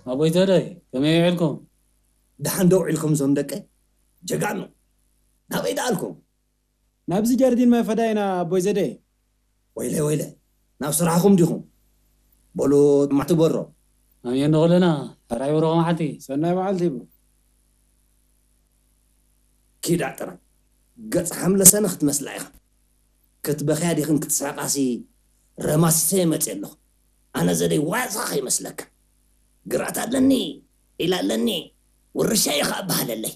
ኣቦይ ተደይ፣ ከመይ ውዒልኩም? ደሓን ዶ ውዒልኩም እዞም ደቀይ? ጀጋኑ፣ ናበይ ደኣልኩም? ናብዚ ጀርዲን ማይ ፈዳይና ኣቦይ ዘደይ። ወይለ ወይለ፣ ናብ ስራሕኹም ዲኹም? በሉ ማዕቲ በሮ። ኣሜን ንኹልና። ሕራይ ብሩኽ መዓልቲ። ሰናይ መዓልቲ ይብሉ። ኪዳ ጥራይ ገጽ ሓምለሰነ ክትመስላ ኢኻ። ክትበኽያ ዲኽን ክትስሕቃሲ ረማሲሰ መጽእ ኣለኹ። ኣነ ዘደይ ዋዛ ከይመስለካ። ግራት ኣለኒ፣ ኢላ ኣለኒ፣ ውርሻ ኢኻ እበሃለለይ።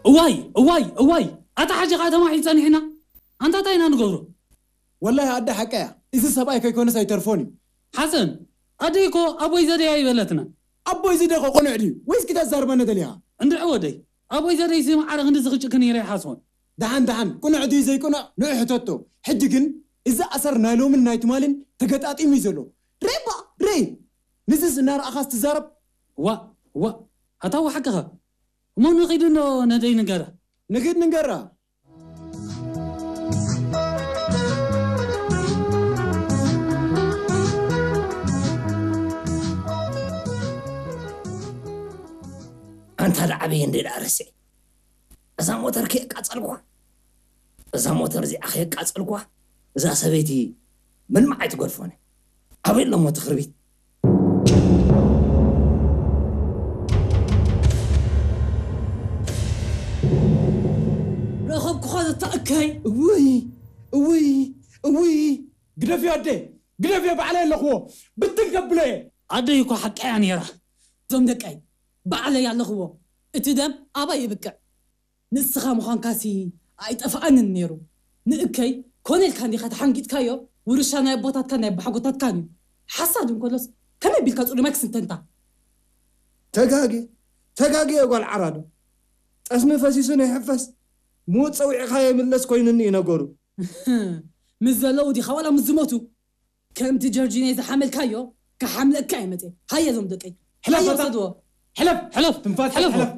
እዋይ እዋይ እዋይ፣ ኣታ ሓጂ ከዓ ተማሒሉ ጸኒሕና። ኣንታ እንታይ ኢና ንገብሮ? ወላሂ ኣደ ሓቀያ፣ እዚ ሰብኣይ ከይኮነስ ኣይተርፎን እዩ። ሓሰን፣ ኣደይ እኮ ኣቦይ ዘደይ ኣይበለትናን። ኣቦይ ዝደኸ ቁኑዕ ድዩ ወይስ ክተዛርበኒ ደሊኻ? እንድዒ ወደይ፣ ኣቦይ ዘደይሲ ማዕረ ክንድዚ ክጭክን ኢለ ኣይሓስቦን። ደሓን ደሓን፣ ቁኑዕ ድዩ ዘይቁኑዕ ንዑ ሕተቶ። ሕጂ ግን እዚ ኣሰር ናይ ሎምን ናይ ትማልን ተገጣጢሙ እዩ ዘሎ። ርኤ እባ ርኤ፣ ንዝስ እናረኣኻስ ትዛረብ። ዋእ ዋእ፣ ኣታ እወ ሓቅኻ። እሞ ንኺድ እንዶ ነደይ ንገራ። ንኺድ ንገራ። ኣንታ ደዓበየ እንደ ደኣ ረስዐ እዛ ሞተር ከየቃጸልኳ እዛ ሞተር እዚኣ ከየቃጸልኳ እዛ ሰበይቲ ምንም ኣይትገድፎነ። ኣበይ ኣለሞ እቲ ክርቢት? ረኸብኩኻ ዘተእከይ። እውይ እውይ እውይ ግደፍዮ ኣደ ግደፍዮ ባዕለይ ኣለኽዎ ብትን ከብሎ እየ። ኣደይ እኮ ሓቀያ ነይራ። እዞም ደቀይ ባዕለይ ኣለኽዎ እቲ ደም ኣባይ ይብቅዕ። ንስኻ ምዃንካሲ ኣይጠፍኣንን ነይሩ። ንእከይ ኮነ ኢልካ እንዲኻ ተሓንጊጥካዮ፣ ውርሻ ናይ ኣቦታትካን ናይ ኣቦሓጎታትካን እዩ። ሓሳድ እንከሎስ ከመይ ቢልካ ጽሉማይ ክስንተንታ? ተጋግየ ተጋግየ ጓል ዓራዶ። ጠስሚ ፈሲሱ ንይሕፈስ፣ ምዉት ጸዊዕኻዮ ይምለስ ኮይኑኒ እዩ ነገሩ። ምስ ዘለዉ ዲኻ ዋላ ምስ ዝሞቱ? ከምቲ ጀርጂኖ ዝሓመልካዮ ክሓምለካ እየ መፅየ። ሃየ እዞም ደቀይ ሕለፍ ሃየ በቃ። ውሰድዎ። ሕለፍ ሕለፍ ትንፋስ ሕለፍ። ሕለፍ